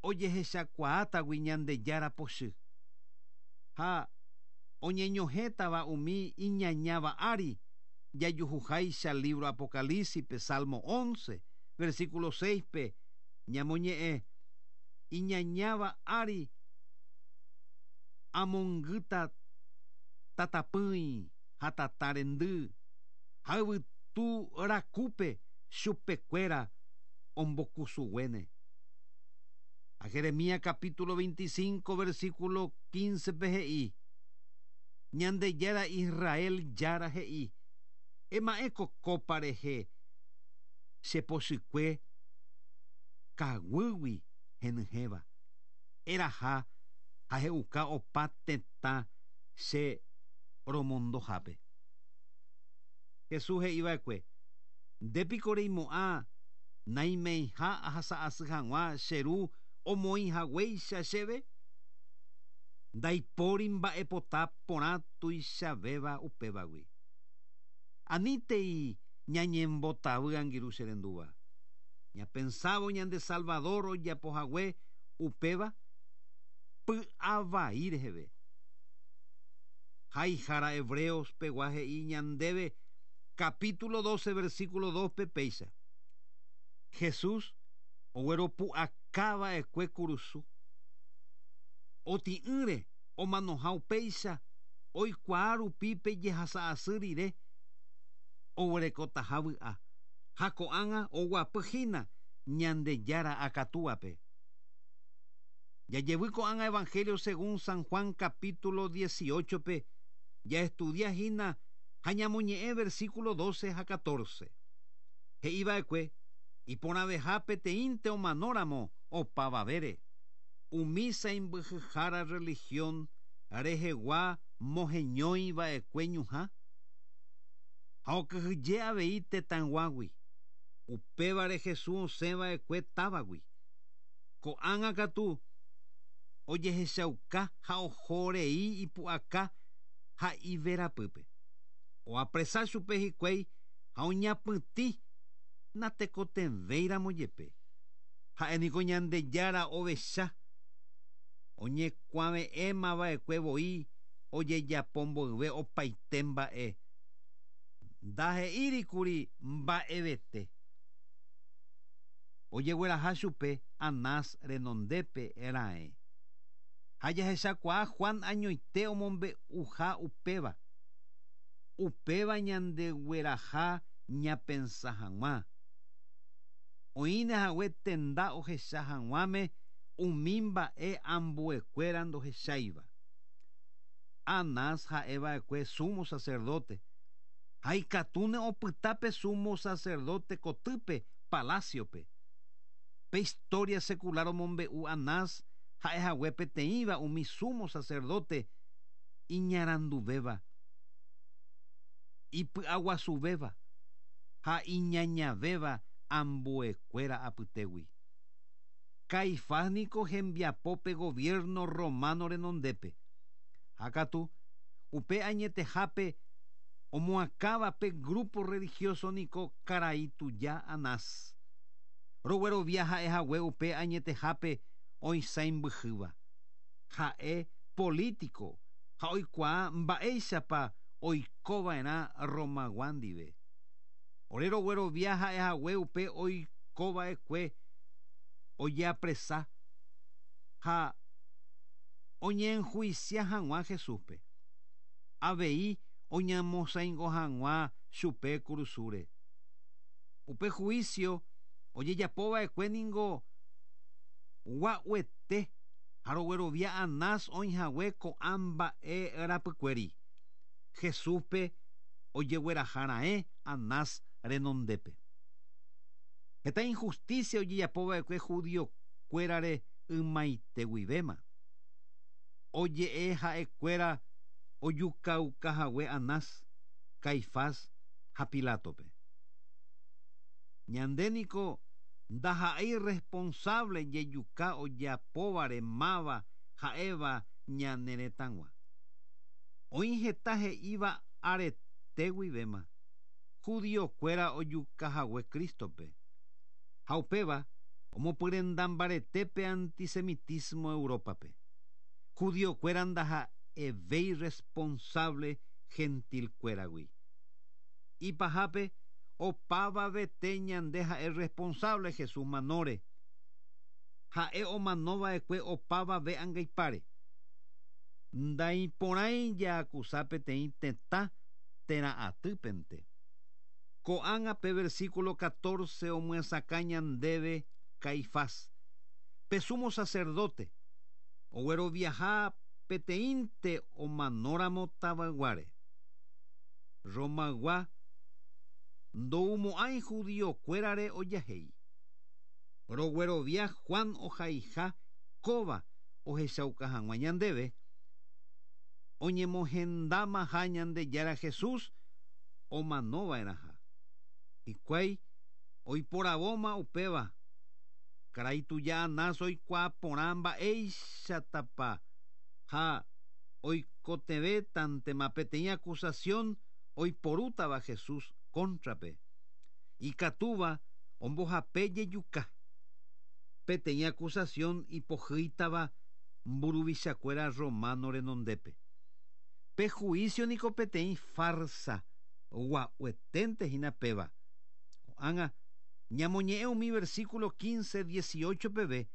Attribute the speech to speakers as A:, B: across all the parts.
A: Ojehechakuaátagui Ñandejára pochy, ha oñeñohẽtava umi iñañáva ári, jajuhuháicha lívro Apocalípsis-pe, Salmo once, versículo seis-pe, ñamoñe'ẽ, Iñañáva ári amongýta tatapỹi ha tata rendy, ha yvytu rakúpe chupekuéra ombokusuguéne. Ha Jeremías capítulo 25 versículo 15-pe he'i, Ñandejára Israel Jára he'i, Ema'ẽ ko kópa rehe che pochykue kaguýgui henyhẽva, eraha ha he'uka opa tetã che romondohápe. Jesús he'i va'ekue, Nde piko reimo'ã naimeiha ahasa'asy hag̃ua che Ru omoĩ haguéicha chéve? Ndaipóri mba'epota porã tuichavéva upévagui. Anítei ñañembotavy angirũ che rendúva. Ñapensávo ñande Salvador ojapo hague upéva py'avai reheve. Haihára Hebreos pegua he'i ñandéve capítulo 12 versículo 2-pe péicha, Jesús ogueropu'aka va'ekue kurusu. Otĩ'ỹre omanoha upéicha oikuaa rupi pe jehasa asy rire oguerekotaha vy'a, ha ko'ág̃a oguapy hína Ñandejára akatúape. Jajevy ko'ág̃a Evangelio según San Juan capítulo 18-pe jaestudia hína ha ñamoñe'ẽ versículo 12 ha 14. He'i va'ekue iporãveha peteĩnte omanóramo opavavére, umi saimbyhyhára religión rehegua moheñói va'ekue ñuhã ha okyhyje avei tetãyguágui. Upévare Jesús osẽ va'ekue távagui. Ko'ág̃a katu ojehechauka ha oho rei ipu'aka ha iverapýpe. Oapresa chupe hikuái ha oñapytĩ natekotevẽiramo jepe. Ha'e niko Ñandejára ovecha, oñekuave'ẽma va'ekue voi ojejapo mboyve opaite mba'e. Ndahe'íri kuri mba'evete. Ojegueraha chupe Anás renondépe raẽ. Ha jahechakuaa Juan añoite omombe'uha upéva. Upéva ñandegueraha ñapensa hag̃ua. Oĩne hague tenda ohecha hag̃uáme umi mba'e ambuekuéra ndohecháiva. Anás ha'e va'ekue sumo sacerdote, ha ikatúne opyta pe sumo sacerdote kotýpe palásiope. Pe historia secular omombe'u Anás ha'e hague peteĩva umi sumo sacerdote iñaranduvéva, ipy'aguasuvéva ha iñañavéva ambuekuéra apytégui. Caifás niko hembiapo pe gobierno romano renondépe. Ha katu, upe añetehápe omoakãva pe grupo religioso niko karai tuja Anás. Roguerovia ha'e hague upe añetehápe oisãimbyhýva. Ha'e polítiko ha oikuaa mba'éichapa oikova'erã Romagua ndive. Ore roguerovia ha'e hague upe oikova'ekue ojeapresa ha oñeenhuisia hag̃ua Jesúspe. Avei oñamosãingo hag̃ua chupe kurusúre. Upe huísio ojejapova'ekue ningo gua'uete ha roguerovia Anás oĩhague ko'ã mba'e rapykuéri. Jesúspe ojegueraha raẽ Anás renondépe. Heta inhustísia ojejapova'ekue judiokuérare ymaite guivéma. Oje'e ha'ekuéra ojukauka hague Anás, Caifás ha Pilátope. Ñande niko ndaha'éi responsable jejuka ojapóvare máva ha'éva ñane retãgua. Oĩ heta he'íva arete guivéma, judiokuéra ojuka hague Crístope. Ha upéva Omopyrenda mbarete pe antisemitismo Európape. Judiokuéra ndaha'evéi responsable gentilkuéragui. Ipahápe, opavavete ñande ha'e responsable Jesús manóre. Ha'e omanova'ekue opavave angaipáre. Ndaiporãi jaakusa peteĩ tetã térã atýpente. Ko'ág̃a pe versículo 14 omyesakã ñandéve Caifás, pe sumo sacerdote, ogueroviaha peteĩnte omanóramo tavayguáre. Romaygua ndoumo'ãi judiokuérare ojahéi. Roguerovia Juan ohaiha kóva ohechauka hag̃ua ñandéve oñemohendámaha Ñandejára Jesús omanova'erãha. Hikuái oiporavóma upéva. Karai tuja Anás oikuaa porã mba'éichatapa ha oikotevẽtantema peteĩ acusación oiporútava Jesús cóntrape, ikatúva ombohape jejuka. Peteĩ acusación ipohýitava mburuvichakuéra romano renondépe. Pe juicio niko peteĩ farsa gua'ueténte hína péva. Ko'ág̃a, ñamoñe'ẽ umi versículo 15, 18 peve,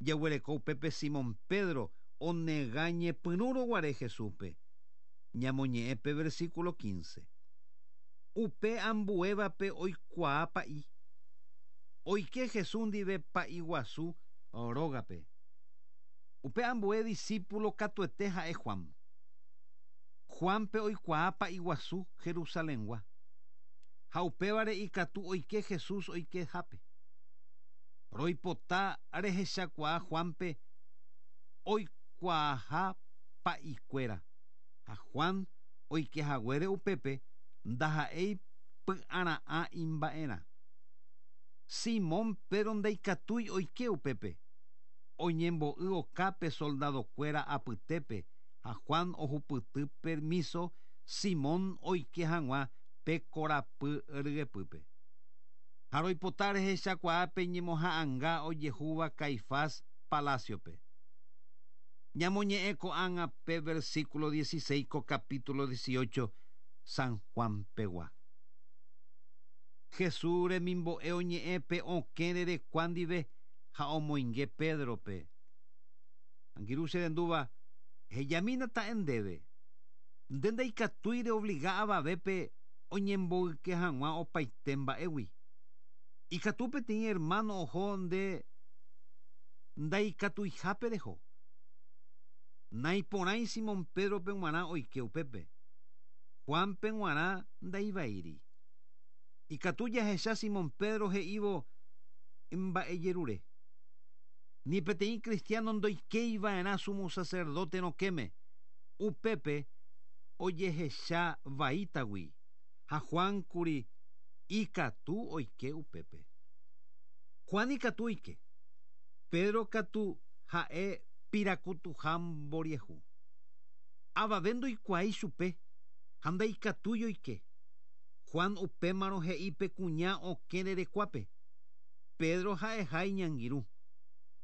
A: jaguereko upépe Simón Pedro onega ñepyrũrõ guare Jesúspe. Ñamoñe'ẽ pe versículo 15. Upe ambuévape oikuaa pa'i. Oike Jesús ndive pa'i guasu rógape. Upe ambue discípulo katuete ha'e Juan. Juánpe oikuaa pa'i guasu Jerusalengua. Ha upévare ikatu oike Jesús oikehápe. Roipota rehechakuaa Juánpe oikuaaha pa'ikuéra. Ha Juan oikehaguére upépe ndaha'éi py'ara'ã imba'erã. Simón Pedro ndaikatúi oike upépe. Oñembo'y okápe soldadokuéra apytépe ha Juan ohupyty permiso Simón oike hag̃ua pe korapy ryepýpe. Ha roipota rehechakuaa pe ñemoha'anga ojehúva Caifás paláciope. Ñamoñe'ẽ ko'ág̃a pe versículo 16 ko capítulo 18 San Juan pegua. Jesús remimbo'e oñe'ẽ pe okẽ rerekua ndive ha omoinge Pédrope. Angirũ che rendúva, ehejamína ta'e ndéve. Nde ndaikatúi reobliga avavépe oñemboyke hag̃ua opaite mba'égui. Ikatu peteĩ ermáno oho nde ndaikatuihápe reho. Naiporãi Simón Pédrope g̃uarã oike upépe. Juánpe g̃uarã ndaivaíri. Ikatu jahecha Simón Pedro he'ívo mba'ejerure. Ni peteĩ cristiano ndoikéiva'erã sumo sacerdote rokẽme, upépe ojehecha vaítagui, ha Juan kuri ikatu oike upépe. Juan ikatu oike, Pedro katu ha'e pirakutuha mboriahu. Avave ndoikuaái chupe ha ndaikatúi oike. Juan upémarõ he'i pe kuña okẽ rerekuápe, Pedro ha'eha iñangirũ.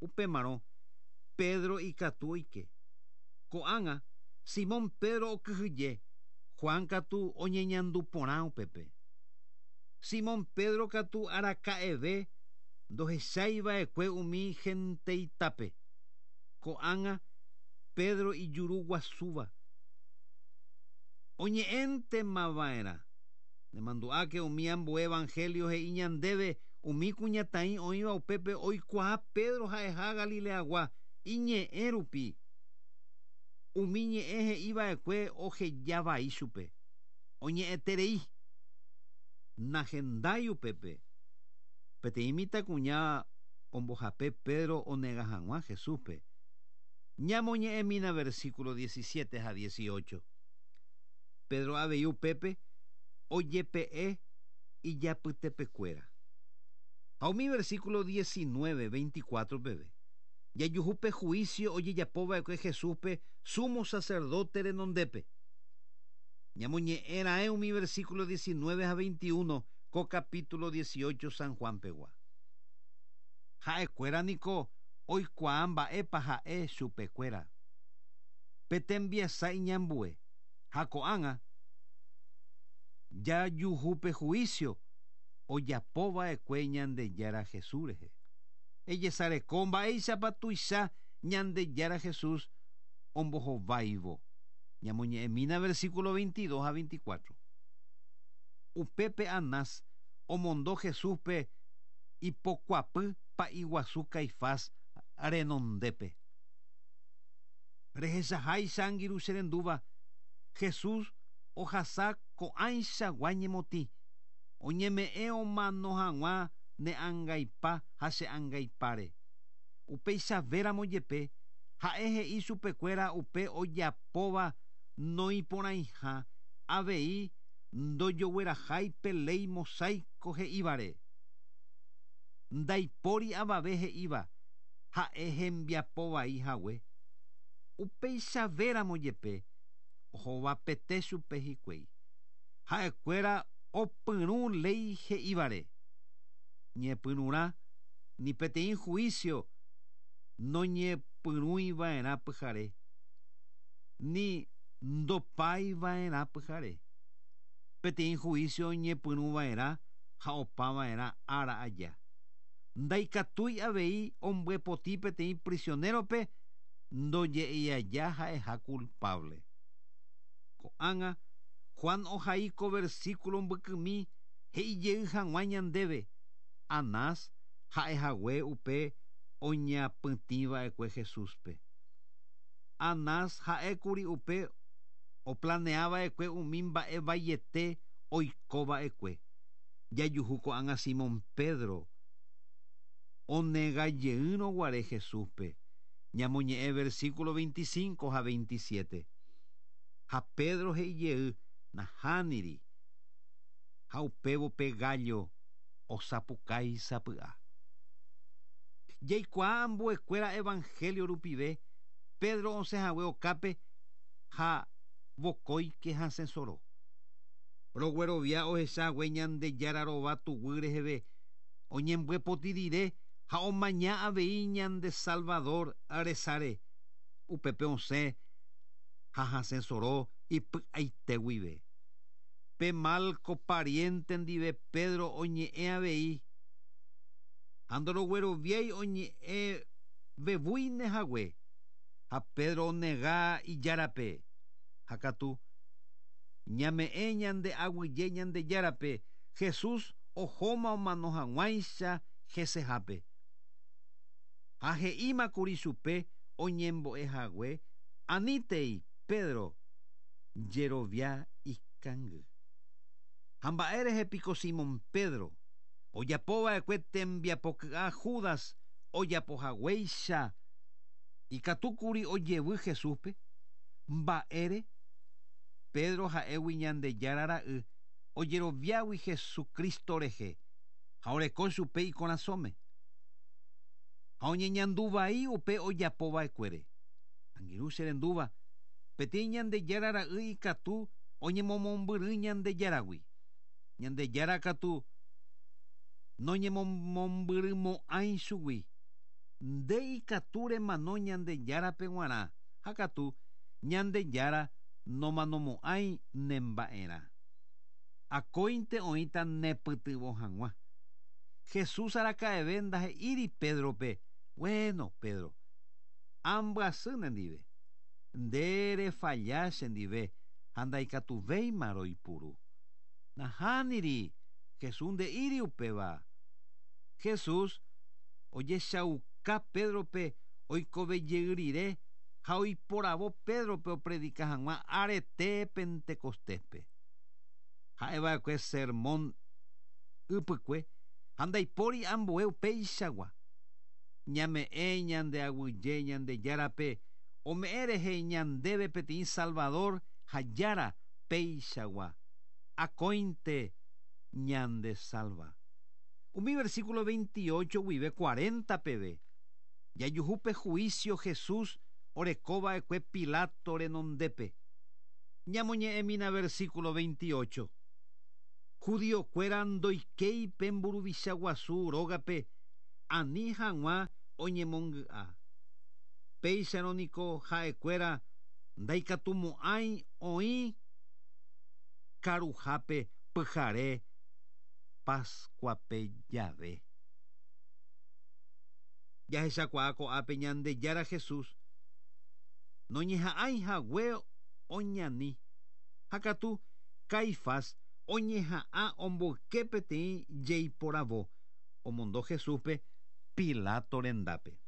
A: Upémarõ, Pedro ikatu oike. Ko'ág̃a, Simón Pedro okyhyje, Juan katu oñeñandu porã upépe. Simón Pedro katu araka'eve ndohechaiva'ekue umi henteitápe. Ko'ág̃a, Pedro ijuru guasúva. Oñe'ẽntemava'erã. Nemandu'áke umi ambue evangelio he'i ñandéve umi kuñataĩ oĩva upépe oikuaa Pedro ha'eha Galileagua iñe'ẽ rupi. Umi ñe'ẽ he'iva'ekue oheja vai chupe. Oñe'ẽterei. Nahendái upépe. Peteĩ mitãkuña ombohape Pedro onega hag̃ua Jesúspe. Ñamoñe'ẽmína versículo 17 ha 18. Pedro avei upépe ojepe'e ijapytepekuéra. Ha umi versículo 19, 24 peve, jajuhu pe juicio ojejapova'ekue Jesúspe sumo sacerdote renondépe. Ñamoñe'ẽ raẽ umi versículo 19 ha 21 ko capítulo 18 San Juan pegua. Ha'ekuéra niko oikuaa mba'épa ha'e chupekuéra. Pe tembiasa iñambue, ha ko'ág̃a jajuhu pe juicio ojapova'ekue Ñandejára Jesús rehe. Ejesareko mba'éichapa tuicha Ñandejára Jesús ombohováivo. Ñamoñe'ẽmína versículo 22 ha 24. Upépe Anás omondo Jesúspe ipokuapy pa'i guasu Caifás renondépe. Rehechaháicha angirũ che rendúva, Jesús ohasa ko'ãichagua ñemotĩ, oñeme'ẽ omano hag̃ua ne angaipa ha che angaipáre. Upeichavéramo jepe, ha'e he'i chupekuéra upe ojapóva noĩporãiha, avei ndojoguerahái pe léi mosáiko he'ívare. Ndaipóri avave he'íva ha'e hembiapo vai hague. Upeichavéramo jepe, ohovapete chupe hikuái. Ha'ekuéra opyrũ léi he'ívare. Ñepyrũrã ni peteĩ juicio noñepyrũiva'erã pyhare, ni ndopaiva'erã pyhare. Peteĩ juicio oñepyrũva'erã ha opava'erã ára aja. Ndaikatúi avei ombyepoti peteĩ prisionero-pe ndoje'éi aja ha'eha culpable. Ko'ág̃a, Juan ohai ko versículo mbykymi he'ijey hag̃ua ñandéve, Anás ha'ehague upe oñapytĩva'ekue Jesúspe. Anás ha'ékuri upe oplaneava'ekue umi mba'e vaiete oikova'ekue. Jajuhu ko'ág̃a Simón Pedro onegajeýrõ guare Jesúspe, ñamoñe'ẽ versículo 25 ha 27. Ha Pedro he'ijey, Nahániri. Ha upévo pe gállo osapukái sapy'a. Jaikuaa ambuekuéra evangelio rupive Pedro osẽhague okápe ha vokóike hasẽ soro. Roguerovia ohecha hague Ñandejára rova tuguy reheve oñembyepoti rire ha omaña avei ñande Salvador resáre, upépe osẽ ha hasẽ soro ipy'aite guive. Pe Malco pariente ndive Pedro oñe'ẽ avei, ha ndorogueroviái oñe'ẽ vevúine hague, ha Pedro onega Ijárape, ha katu ñame'ẽ ñande aguyje Ñandejárape Jesús ohóma omano hag̃uáicha hesehápe. Ha he'ímakuri chupe oñembo'e hague anítei Pedro jerovia ikangy. Ha mba'e rehe piko Simón Pedro ojapova'ekue tembiapoky'a Judas ojapohaguéicha ikatúkuri ojevy Jesúspe? Mba'ére? Pedro ha'égui Ñandejára ra'y ojeroviágui Jesucristo rehe ha oreko chupe ikorasõme. Ha oñeñandu vai upe ojapova'ekuére. Angirũ che rendúva, peteĩ Ñandejára ra'y ikatu oñemomombyry Ñandejáragui. Ñandejára katu noñemomombyrymo'ãi chugui. Nde ikatu remano Ñandejárape g̃uarã, ha katu Ñandejára nomanomo'ãi nemba'erã. Akóinte oĩta nepytyvõ hag̃ua. Jesús araka'eve ndahe'íri Pédrope, Bueno, Pedro, ambyasy nendive. Nde refalla chendive ha ndaikatuvéima roipuru. Nahániri, Jesús nde'íri upéva. Jesús ojechauka Pédrope oikove jey rire ha oiporavo Pédrope opredika hag̃ua arete Pentecostéspe. Ha'eva'ekue sermón ypykue ha ndaipóri ambue upeichagua. Ñame'ẽ ñande aguyje Ñandejárape ome'ẽ rehe ñandéve peteĩ Salvador ha Jára peichagua. Akóinte ñandesalva. Umi versículo 28 guive 40 peve, jajuhu pe juicio Jesús orekova'ekue Pilato renondépe. Ñamoñe'ẽmína versículo 28. Judiokuéra ndoikéi pe mburuvicha guasu rógape Ani hag̃ua oñemongy'a. Péicharõ niko ha'ekuéra ndaikatumo'ãi oĩ karuhápe pyhare Páskuape jave. Jahechakuaa ko'ápe Ñandejára Jesús noñeha'ãi hague oñani, ha katu Caifás oñeha'ã omboyke peteĩ jeiporavo omondo Jesúspe Pilato rendápe.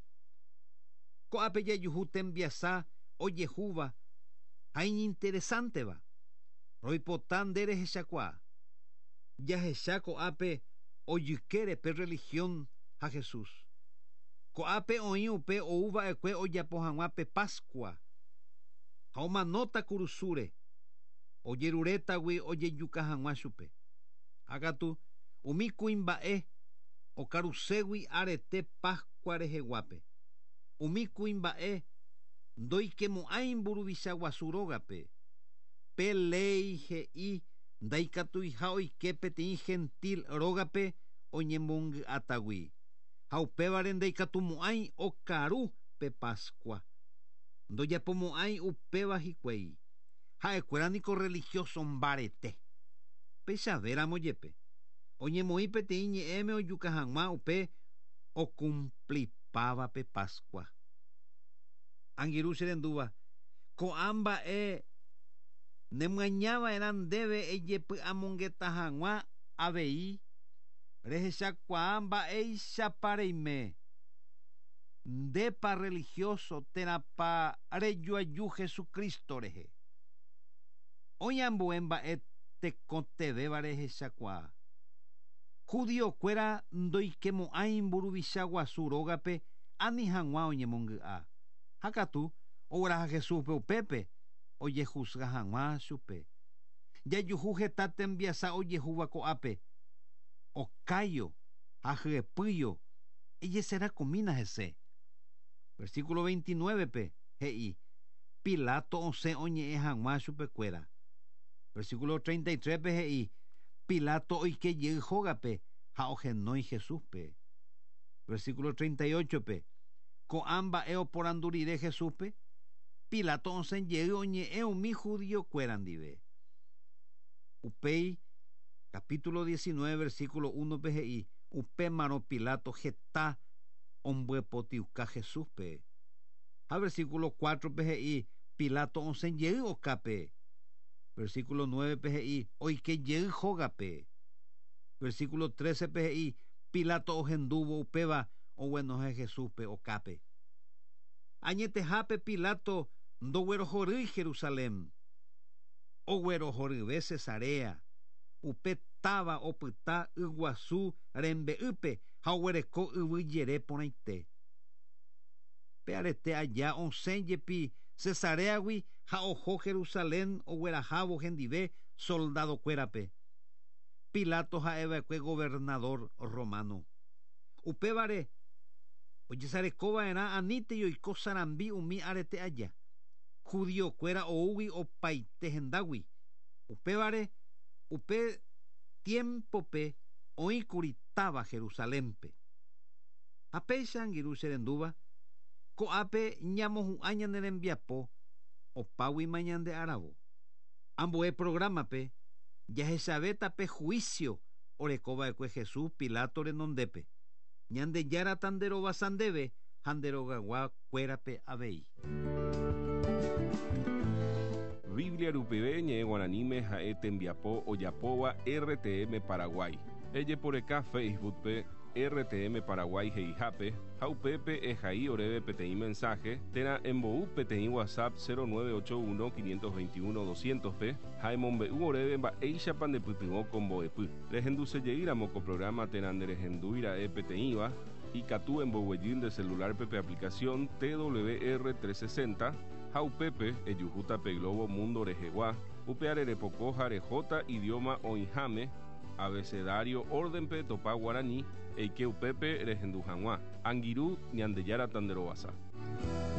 A: Ko'ápe jajuhu tembiasa ojehúva ha iñinteresánteva. Roipota nde rehechakuaa. Jahecha ko'ápe ojykére pe religión ha Jesús. Ko'ápe oĩ upe ou va'ekue ojapo hag̃ua pe Pascua ha omanóta kurusúre, ojerurétagui ojejuka hag̃ua chupe. Ha katu umi kuimba'e okaruségui arete Pascua reheguápe, umi kuimba'e ndoikemo'ãi mburuvicha guasu rógape. Pe léi he'i ndaikatuiha oike peteĩ gentil rógape oñemongy'átagui, ha upévare ndaikatumo'ãi okaru pe Pascua. Ndojapomo'ãi upéva hikuái. Ha'ekuéra niko religioso mbarete. Peichavéramo jepe, oñemoĩ peteĩ ñe'ẽme ojuka hag̃ua upe okumplipáva pe Pascua. Angirũ che rendúva, ko'ã mba'e nemyañava'erã ndéve ejepy'amongeta hag̃ua avei rehechakuaa mba'éichapa reime, ndépa religioso térãpa rejoaju Jesucristo rehe. Oĩ ambue mba'e tekotevẽva rehechakuaa. Judiokuéra ndoikemo'ãi mburuvicha guasu rógape ani hag̃ua oñemongy'a. Ha katu, ogueraha Jesúspe upépe ojehusga hag̃ua chupe. Jajuhu heta tembiasa ojehúva ko'ápe, okáio ha hyepýio, ejeserakumína hese. Versículo 29-pe he'i, Pilato osẽ oñe'ẽ hag̃ua chupekuéra. Versículo 33-pe he'i, Pilato oike jey hógape ha ohenói Jesúspe. Versículo 38-pe, Ko'ã mba'e oporandu rire Jesúspe, Pilato osẽ jey oñe'ẽ umi judiokuéra ndive. Upéi, capítulo 19, versículo 1-pe he'i, Upémarõ Pilato heta ombyepotiuka Jesúspe. Ha versículo 4-pe he'i, Pilato osẽ jey okápe. Versículo 9-pe he'i, Oike jey hógape. Versículo 13-pe he'i, Pilato ohendúvo upéva oguenohẽ Jesúspe okápe. Añetehápe Pilato ndoguerohorýi Jerusalén, oguerohoryve Cesarea, upe táva opyta yguasu rembe'ýpe ha oguereko yvy jere porãite. Pe arete aja osẽ jepi Cesaréagui ha oho Jerusalén oguerahávo hendive soldadokuérape. Pilato ha'eva'ekue governadór romano. Upévare, ojesarekova'erã anítei oiko sarambi umi arete aja, judiokuéra oúgui opaite hendágui. Upévare, upe tiémpope oĩkuri táva Jerusalénpe. Ha péicha, angirũ che rendúva, ko'ápe ñamohu'ã ñane rembiapo opáguima ñande aravo. Ambue prográmape jahechavéta pe juicio oreko va'ekue Jesús Pilato renondépe. Ñandejára tanderovasa ndéve ha nde rogagua kuérape avei.
B: Biblia rupive ñe'ẽ guaraníme ha'e tembiapo ojapóva RTM Paraguay. Ejeporeka Facebook-pe RTM Paraguay he'ihápe ha upépe ehai oréve peteĩ mensaje térã embou peteĩ WhatsApp 0981 521 200-pe ha emombe'u oréve mba'éichapa ndepytyvõ ko mbo'epy. Rehendusejeýramo ko programa térã nderehendúi ra'e peteĩva, ikatu emboguejy nde celular-pe pe aplicación TWR 360 ha upépe ejuhúta pe globo mundo rehegua, upeare repoko ha rehóta idioma oĩháme, abecedario orden-pe etopa guarani, eike upépe rehendu hag̃ua. Angirũ, Ñandejára tanderovasa.